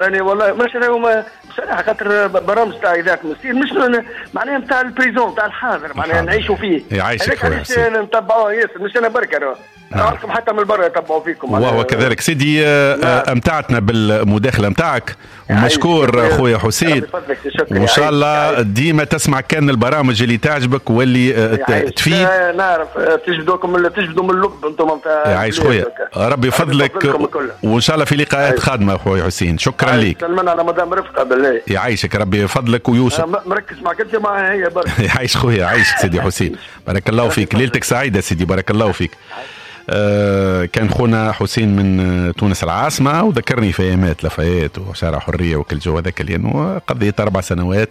راني والله مش انا بصراحة، خاطر برامج تاع اذاعة المستير مش معناها نتاع ال présent تاع الحاضر، معناها نعيشوا فيه. يعيشك خويا حسين. نتبعوه ياسر، مش انا برك، نعرفكم حتى من برا يتبعوا فيكم. وهو كذلك سيدي. امتعتنا بالمداخله نتاعك ومشكور خويا حسين، وان شاء الله ديما تسمع كان البرامج اللي تعجبك واللي تفيد. نعرف تجبدوكم، تجبدوا من اللب انتم نتاع. يعيش خويا، ربي يفضلك، وان شاء الله في لقاءات قادمة خويا حسين. شكرا لك. سلمنا على مدام رفقه بالله. يعيشك ربي يفضلك ويوسف. مركز معك انت مع هي برك. يعيش خويا، يعيشك سيدي حسين، بارك الله فيك، ليلتك سعيدة سيدي، بارك الله فيك. كان خونا حسين من تونس العاصمة، وذكرني في أيامات لافايت وشارع حرية وكل جو هذاك، لأنه قضيت 4 سنوات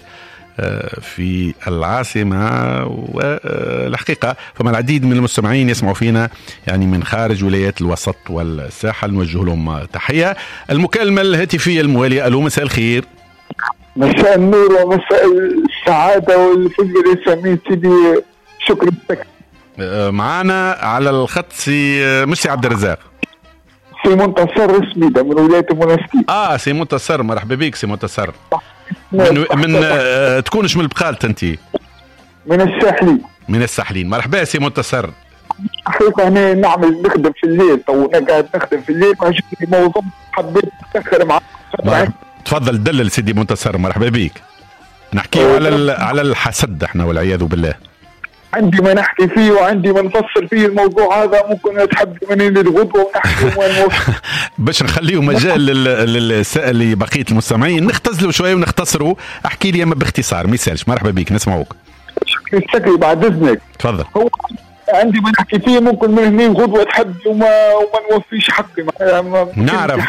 في العاصمة. والحقيقة فما العديد من المستمعين يسمعوا فينا يعني من خارج ولايات الوسط والساحل، نوجه لهم تحية. المكالمة الهاتفية الموالية، ألو مساء الخير. مساء النور ومساء السعادة والفل والياسمين سيدي، شكرا لك. معانا على الخط سي مش سي عبد الرزاق، سي منتصر سميدة من ولاية المنستير. سي منتصر، مرحبا بك سي منتصر. من تكونش من البقالة انت؟ من الساحلين. من الساحلين، مرحبا سي منتصر. حقيقة انا نعمل نخدم في الليل، تو انا قاعد نخدم في الليل، عجبني موضوع حبيت نتاخر معاك. تفضل دلل سيدي منتصر، مرحبا بك. نحكي على الحسد احنا والعياذ بالله. عندي ما نحكي فيه وعندي ما نفصل فيه الموضوع هذا، ممكن تحب مني للغدوة ونحكي باش نخليه مجال للسائل لبقية المستمعين، نختزلوا شوية ونختصروا. احكي لي اما باختصار ما يسالش. مرحبا بك، نسمعوك. شكري بعد اذنك. تفضل. هو عندي ما نحكي فيه، ممكن من هنا غدوة تحب وما نوفيش حقي.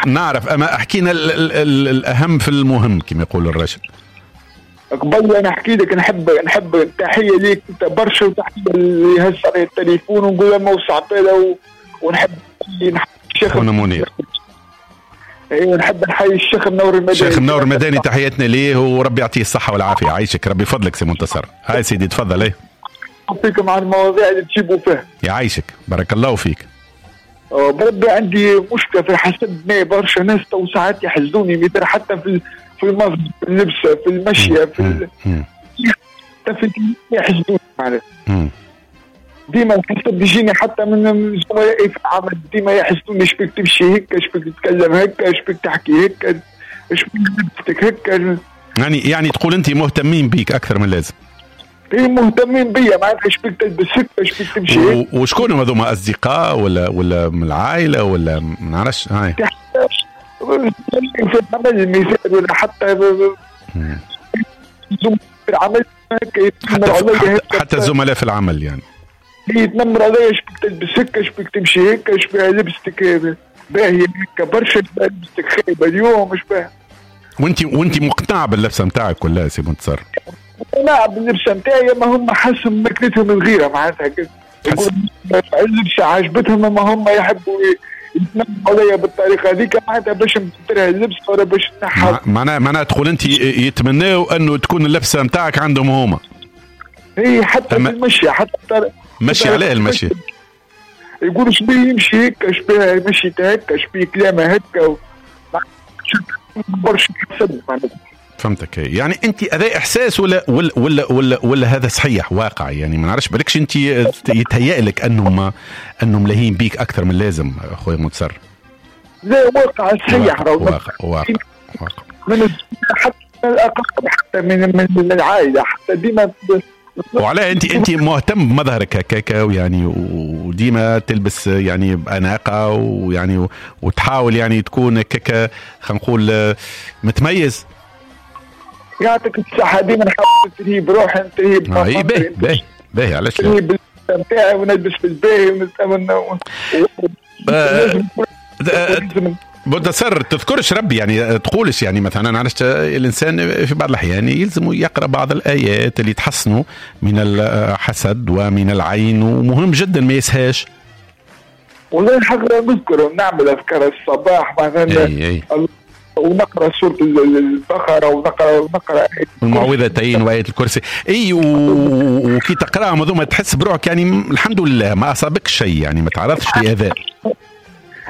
نعرف اما احكينا الاهم في المهم كما يقول الرجل. قبل انا احكي لك، نحب تحية ليك انت برشا، وتحية اللي هز علي التليفون ونقول له موسع باله، ونحب الشيخ منير. ايوه نحب نحيي الشيخ منور المداني. الشيخ منور المداني تحياتنا ليه وربي يعطيه الصحة والعافية. عايشك ربي يفضلك سي منتصر. هاي سيدي تفضل. ايه فيكم عن المواضيع اللي تجيبوا فيها. يعيشك بارك الله فيك. بربي عندي مشكلة في الحسد، برشا ناس تو ساعات يحسدوني، مثلا حتى في المظهر، في اللبسه، في المشية، في حتى في يحسدوني معناها. ديما الحسد يجيني حتى من زملائي في العمل، ديما يحسدوني، شبيك تمشي هيك، شبيك تتكلم هيك، شبيك تحكي هيك، شبيك لبستك هيك. يعني تقول انت مهتمين بيك اكثر من اللازم. ايه مهتمين بيا معناتها، شبيك تلبس هيك، شبيك تمشي هيك. وشكون هذوما، اصدقاء ولا من العائلة ولا ما نعرفش؟ هاي في العمل مثال، ولا حتى في العمل حتى الزملاء في العمل يعني يتنمر عليا، شبيك تلبس هيك، شبيك تمشي هيك، شبيك لبستك باهية هيك برشا، لبستك خايبة اليوم، مش باهية. وانت مقتنع باللبسة نتاعك ولا سي منتصر؟ مقتنع باللبسة نتاعي، ما هم حسهم ماكلتهم الغيرة معناتها، اللبسة عجبتهم، ما هم يحبوا يتنمروا عليا بالطريقة هذيك معناتها باش نبدلها اللبسة ولا باش نحب. معناها تقول انت يتمناو انه تكون اللبسة نتاعك عندهم هما. اي حتى في المشي، حتى مشي عليه المشي، يقولوا شبيه يمشي هيك، شبيه مشي هيك، شبيه كلامه هيك، برشا حسد معناتها. فهمتك. يعني انت هذا احساس ولا ولا ولا ولا, ولا هذا صحيح واقع؟ يعني ما نعرفش، بالكش انت يتهيأ لك انهم لاهين بيك اكثر من اللازم اخويا منتصر؟ لا واقع صحيح، واقع واقع واقع من حتى الاقارب، حتى من العائلة، حتى ديما. وعلى انت مهتم بمظهرك هكاك يعني، وديما تلبس يعني باناقه، ويعني وتحاول يعني تكون هكاك خلينا نقول متميز. يعطيك الصحة، ديما نحاول نترهي بروحي، نترهي باهي باهي باهي. علاش لا؟ نترهي نتاعي ونلبس في الباهي منتصر. تذكرش ربي يعني، تقولش يعني مثلا عرفت الانسان في بعض الاحيان يلزم يقرا بعض الايات اللي تحصنه من الحسد ومن العين، ومهم جدا ما يسهاش. والله الحق نذكر، نعمل اذكار الصباح مثلا. أي. ونقرا سورة البقرة ونقرا المعوذتين وايه الكرسي. اي وكي تقراهم هذوما تحس بروحك يعني الحمد لله ما اصابك شيء، يعني ما تعرضش لاذى.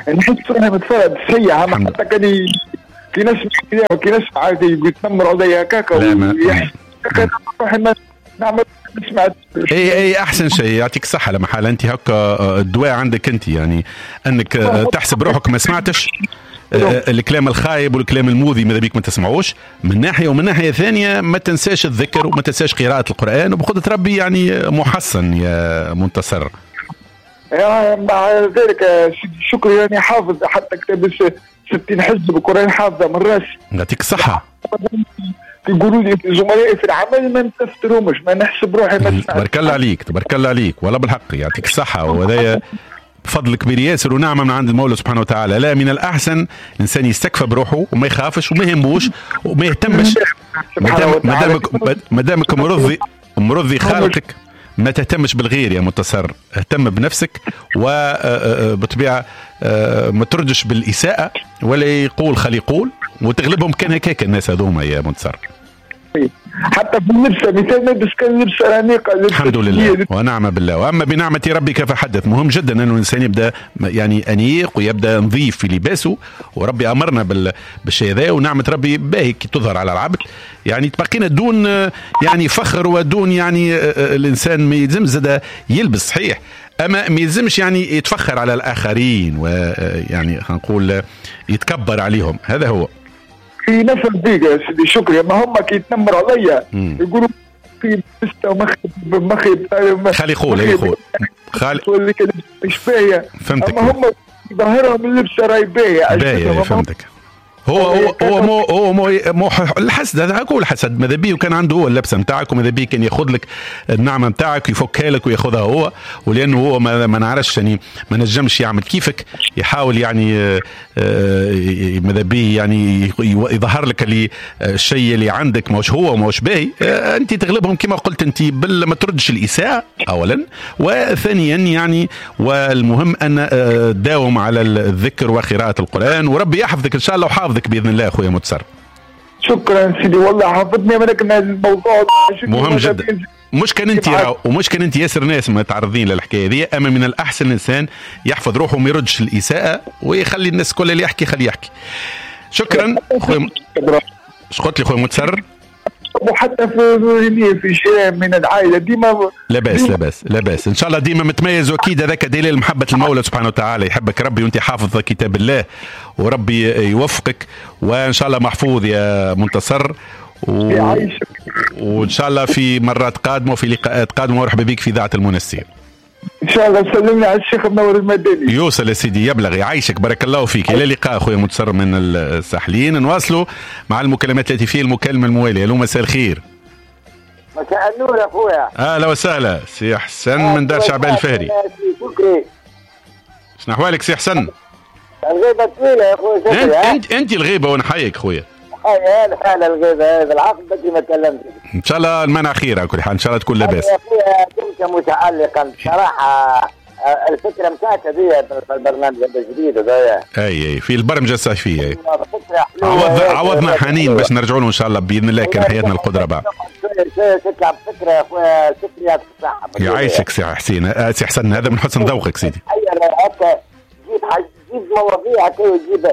نحس روحي متفرد سيئة، حتى كان كي نسمع كي نسمع يتنمروا عليا هكاك نعمل نسمع. اي احسن شيء، يعطيك الصحة. لما حال انت هكا الدواء عندك انت، يعني انك تحسب روحك ما سمعتش الكلام الخايب والكلام المؤذي، ماذا بيك ما تسمعوش من ناحية، ومن ناحية ثانية ما تنساش الذكر وما تنساش قراءة القران، وبقدره ربي يعني محصن يا منتصر. يعني مع ذلك شكرا، يعني حافظ حتى كتاب 60 حزب القران حافظه من راسي. يعطيك الصحة. يقولوا لي زملائي في العمل ما نتفترهمش، ما نحسب روحي ما نسمع. تبارك الله عليك، تبارك الله عليك، والله بالحق يعطيك الصحة، وهذايا بفضل كبير ياسر ونعمة من عند المولى سبحانه وتعالى. لا، من الأحسن الإنسان يستكفى بروحه وما يخافش وما يهموش وما يهتمش، ما دامك مرضي خالقك ما تهتمش بالغير يا منتصر، اهتم بنفسك، وبطبيعة ما تردش بالإساءة ولا يقول خلي يقول، وتغلبهم كان هكاك الناس هذوما يا منتصر. حتى في اللبسه مثال نلبس كان لبسه انيقه، الحمد لله ونعم بالله، واما بنعمه ربك فحدث. مهم جدا انه الانسان يبدا يعني انيق ويبدا نظيف في لباسه، وربي امرنا بالشيء هذا، ونعمه ربي باهي كي تظهر على العبد، يعني تبقينا دون يعني فخر ودون يعني الانسان ما يلزمش زاد يلبس صحيح، اما ما يلزمش يعني يتفخر على الاخرين ويعني خلينا نقول يتكبر عليهم. هذا هو في نفس الدقيقة يا سيدي شكري. ما هم كي يتنمروا عليا يقولوا في بسته مخي خلي يقول يقول خالي مش باهية، فهمتك. اما هم ظاهرهم اللبسة راهي باهية باهية، فهمتك. هو هو هو مو هو مو, مو الحسد، هذا هو الحسد. ماذا بيه وكان عنده هو اللبسه نتاعك، وماذا بيه كان ياخذ لك النعمة نتاعك يفكها لك وياخذها هو، ولانه هو ما نعرفش يعني ما نجمش يعمل كيفك، يحاول يعني ماذا بيه يعني يظهر لك اللي الشيء اللي عندك ماهوش هو ماهوش باهي. انت تغلبهم كما قلت انت بل ما تردش الاساءة اولا، وثانيا يعني والمهم ان داوم على الذكر وقراءة القران، وربي يحفظك ان شاء الله وحافظك باذن الله اخويا متصر. شكرا سيدي، والله حفظني ولكن الموضوع مهم جدا. مش كان انت ومش كان انت ياسر ناس متعرضين للحكايه دي، اما من الاحسن الانسان يحفظ روحه وما يردش الاساءة ويخلي الناس كل اللي يحكي خليه يحكي. شكرا اخويا. اش قلت لي اخويا متصر؟ وحتى في شيء من العائلة ديما لاباس لاباس لاباس ان شاء الله، ديما متميز، واكيد هذاك دليل محبة المولى سبحانه وتعالى، يحبك ربي وانت حافظ كتاب الله، وربي يوفقك وان شاء الله محفوظ يا منتصر، وان شاء الله في مرات قادمة وفي لقاءات قادمة، ومرحبا بك في اذاعة المنستير ان شاء الله. سلمنا على الشيخ منور المدني. يوصل يا سيدي، يبلغ، يعيشك، بارك الله فيك. الى اللقاء اخويا منتصر من الساحلين. نواصلوا مع المكالمات الهاتفية. المكالمة الموالية. الو، مساء الخير. مساء النور يا اخويا. اهلا وسهلا سي حسن من دار شعبان الفهري. شنو احوالك سي حسن؟ الغيبة طويلة يا اخويا. انت الغيبة ونحييك خويا. هلا الغيبة بالعقل بدري ما كلمتك. ان شاء الله المنع خير على كل حال، ان شاء الله تكون لاباس. يا اخويا كنت متعلقا بصراحة الفكرة نتاعك هذه في البرنامج الجديد هذايا. اي في البرمجة الصيفية. عوضنا حنين باش نرجعوا له ان شاء الله باذن الله كان حياتنا القدرة بعد. تطلع بفكره يا اخويا شكري، يعطيك الصحة. يعيشك سي حسين، سي حسن، هذا من حسن ذوقك سيدي. هكا جيب مواضيع هكا وجيب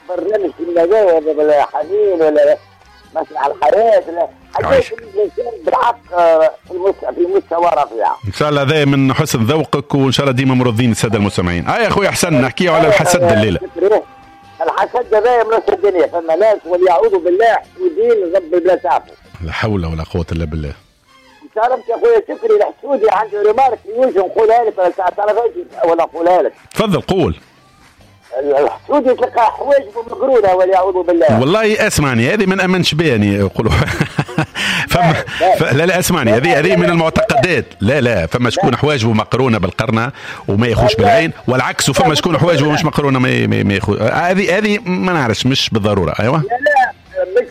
برنامج في ولا حنين ولا مسرح الحياة ولا حاجات بالحق في مستوى رفيع. ان شاء الله هذا من حسن ذوقك، وان شاء الله ديما مرضين السادة المستمعين. يا اخويا حسن نحكي على الحسد الليلة. الحسد هذا من نص الدنيا، فما ناس وليعوذ بالله حسودين رب بلا تعرفوا. لا حول ولا قوة الا بالله. تعرف يا اخويا شكري الحسودي عندي remarque في وجهه نقولها لك ولا تعرفهاش ولا نقولها لك؟ تفضل قول. الحسود يتلقى حواجبه مقرونة والعياذ بالله. والله اسمعني، هذه ما نامنش بها يعني يقولوا فما لا لا اسمعني، هذه من المعتقدات. لا لا، فما شكون حواجبه مقرونة بالقرنه وما يخوش بالعين، والعكس، وفما شكون حواجبه مش مقرونة ما يخوش. هذه ما نعرفش، مش بالضرورة. ايوه لا لا مش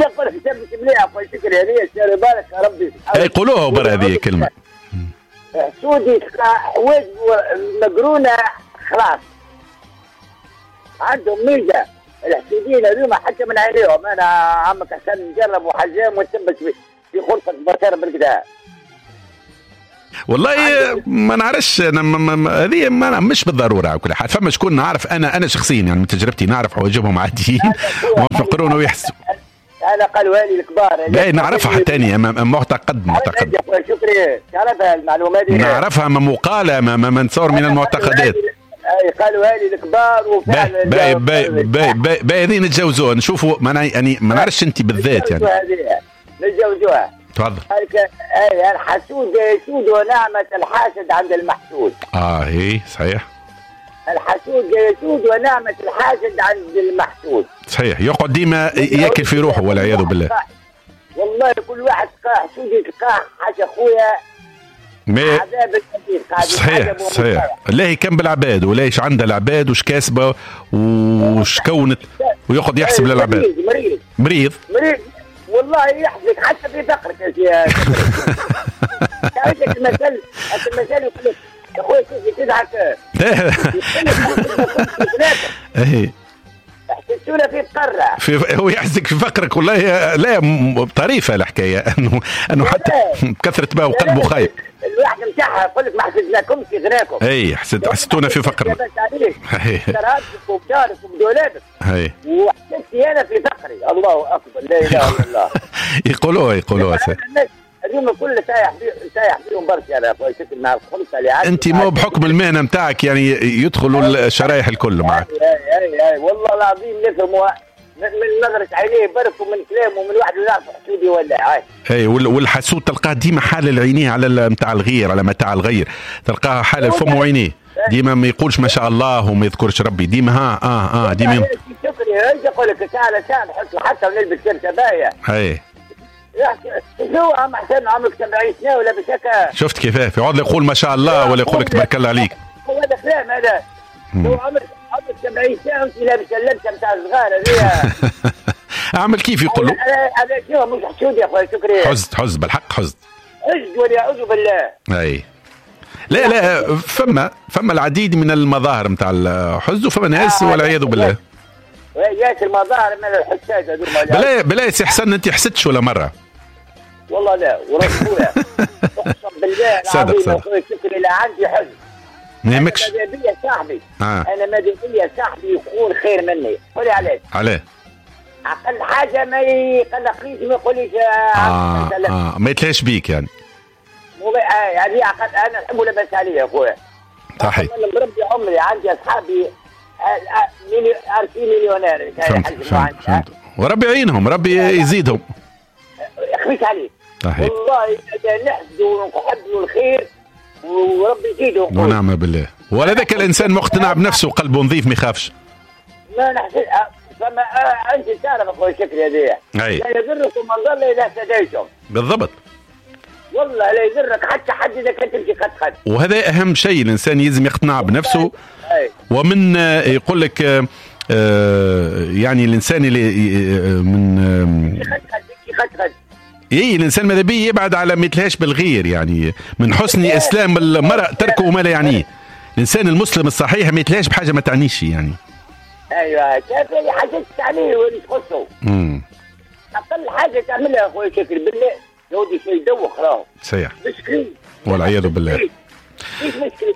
يقول حساب مش مليح خويا شكري، هذه شاري بالك يا ربي. اي قولوها برا هذه كلمة. حسود يتلقى حواجبه مقرونة خلاص، عندهم ميزة الحسودين هذوما حتى من عينيهم. انا عمك حسن نجرب وحجام ونثبت في غرفة بشر بالكدا. والله ما نعرفش انا، هذه مش بالضرورة على كل حال. فما شكون نعرف انا شخصيا يعني من تجربتي نعرف حواجبهم عاديين ومفقرون ويحسوا. انا قالوا لي الكبار. لا نعرفها حتى انا معتقد. شكري تعرفها المعلومة دي؟ نعرفها مقاله ما نتصور من المعتقدات. اي قالوا لي الكبار وفعلا. باي باي باي باي هذه نتجاوزوها نشوفوا. يعني ما نعرفش انت بالذات يعني. نتجاوزوها. تفضل. اي الحسود يسود ونعمة الحاسد عند المحسود. اي صحيح. الحسود يسود ونعمة الحاسد عند المحسود. صحيح، يقعد ديما ياكل في روحه والعياذ بالله. والله كل واحد تلقاه حسود يتلقاه حاجة خويا. عذاب الكبير. صحيح صحيح. لا كان بالعباد ولا ايش عندها العباد وش كاسبه وش كونت ويقعد يحسب للعباد. مريض مريض مريض والله يحزك حتى في فقرك يا سي. المثل يقول لك يا خويا كيف تضحك. اي حسيتونا في فقرة في هو يحزك في فقرك. والله لا طريفه الحكاية انه حتى بكثرة ما وقلبه خايب. الواحد نتاعها يقول لك ما حسدناكمش في غناكم. اي حسدتونا في فقرنا. كرهتك وبدارك وبدولابك. اي وحسدتي انا في فقري. الله اكبر لا اله الا الله. يقولوها اليوم الكل سايح بيهم برشا. انا مع الخمسة اللي عندي. انت مو بحكم المهنة نتاعك يعني يدخلوا الشرايح الكل معك. اي اي والله العظيم نفهموا من نظرة عينيه برك ومن كلامه ومن واحد يعرف حسودي ولا. اي والحسود تلقاه ديما حالل عينيه على نتاع الغير، على متاع الغير، تلقاها حالل فمه وعينيه ديما ما يقولش ما شاء الله وما يذكرش ربي ديما. ها ديما شكري يقول لك تعال نحط حتى ونلبس كرشه باهيه. اي شو عم حسين عمرك 70 سنة ولا بشكا. شفت كيفاه في عوض يقول ما شاء الله ولا يقول لك تبارك الله عليك. هو هذا كلام هذا. هو عمرك 70 سنة وانت لابس اللبسه نتاع الصغار هذه. اعمل كيف يقولوا. هذا شنو مش حسود يا خويا شكري. حزد بالحق حزد. حزد والعياذ بالله. اي لا فما العديد من المظاهر نتاع الحزن وفما ناس والعياذ بالله. ياسر المظاهر من الحساد هذوما. بلا سي حسن انت حسدتش ولا مرة؟ والله لا ورب خويا اقسم بالله العظيم يا خويا شكري لا عندي حزن. ما يهمكش. انا ماذا بيا صاحبي. انا ماذا بيا صاحبي يكون خير مني. قولي علاش؟ علاه؟ اقل حاجة ما يقلقنيش ما يقوليش ما يتلاش بيك يعني. يعني اقل انا نحبه لاباس عليه يا خويا. صحيح. انا مربي عمري عندي اصحابي مليونير. فهمت. وربي يعينهم، ربي يزيدهم. يخفيك عليك. صحيح. والله نحسدوا ونحب الخير وربي يزيدهم. ونعم بالله. ولا ذاك الانسان مقتنع بنفسه وقلبه نظيف ما يخافش. ما نحسد فما انت تعرف اخويا شكري هذايا. لا يضركم من ضل اذا اهتديتم. بالضبط. والله لا يضرك حتى حد اذا كنت تمشي خد خد. وهذا اهم شيء، الانسان يلزم يقتنع بنفسه. ومن يقول لك يعني الانسان اللي من خد اي الانسان ماذا بيه يبعد على ما يتلهاش بالغير، يعني من حسن اسلام المرء تركه ما لا يعنيه. الانسان المسلم الصحيح ما يتلهاش بحاجة ما تعنيش يعني. ايوه كيف حاجة تعنيه واللي تخصه. اقل حاجة تعملها يا خويا شكري بالله يا ودي شيء يدوخ راهو. صحيح. مسكين والعياذ بالله. مش مسكين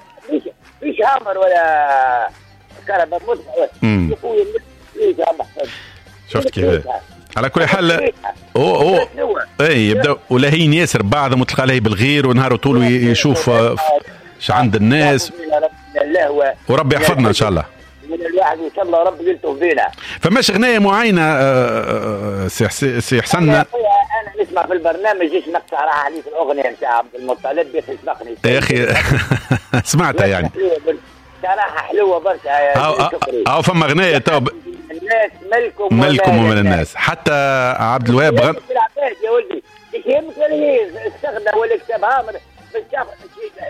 مش هامر ولا كهرباء يا خويا. شفت كيف؟ على كل حال هو اي يبدا ولاهين ياسر بعضهم وتلقى عليه بالغير ونهار طول يشوف اش عند الناس. وربي يحفظنا ان شاء الله. من الواحد ان شاء الله ربي يلطف بينا. فماش غنايه معينة سي حسن؟ انا نسمع في البرنامج جيت نقطع راح عليك الاغنية نتاع عبد المطلب يا اخي سبقني يا اخي. سمعتها يعني صراحة حلوة برشا يا شكري. او فما غنايه تو الناس ملكم ملكم ومن الناس. حتى عبد الوهاب يا ولدي ايش يهمك ولا استغنى ولا كتاب هامر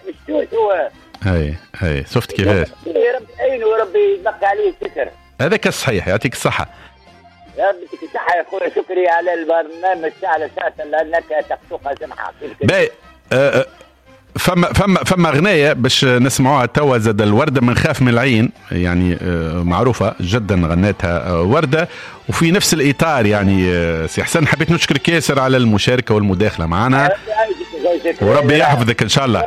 مش توش هو. هاي شفت كيفاش؟ ربي يعينه وربي يبقى عليه الستر. هذاك الصحيح. يعطيك الصحة. يا ربي يعطيك الصحة يا خويا شكري على البرنامج تاع ساعة لأنك تقصقها سمحة. باهي فما غناية باش نسمعوها توا زاد الوردة من خاف من العين، يعني معروفة جدا غناتها وردة وفي نفس الإطار. يعني سي حسن حبيت نشكرك ياسر على المشاركة والمداخلة معنا. وربي يحفظك ان شاء الله.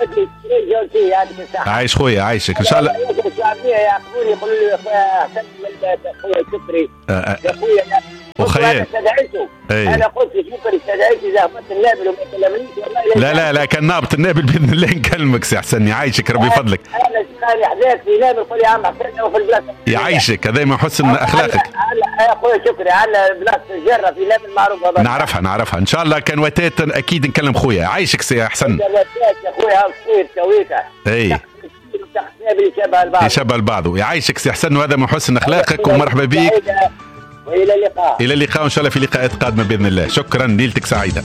عايش خويا عايشك ان شاء الله. يعاقبوني يقولوا لي يا خويا احسن من خويا شكري يا خويا وخيال. انا قلت شكري استدعيته اذا هبطت النابل وما كلمنيش والله. لا لا لا كان نابط النابل باذن الله نكلمك سي حسن، يعيشك ربي يفضلك. انا شقاني حذاك في نابل قول يا عم حسن وفي البلاصة. يعيشك هذا من حسن اخلاقك. يا خويا شكري على بلاصة الجرة في نابل معروفة. نعرفها نعرفها ان شاء الله كان وتات اكيد نكلم خويا. عايشك سي حسن. يا خويا الصيف كويته. اي يشبه البعض. يعيشك سي حسن وهذا من حسن اخلاقك ومرحبا بك. والى اللقاء. الى اللقاء ان شاء الله في لقاءات قادمة باذن الله. شكرا، ليلتك سعيدة.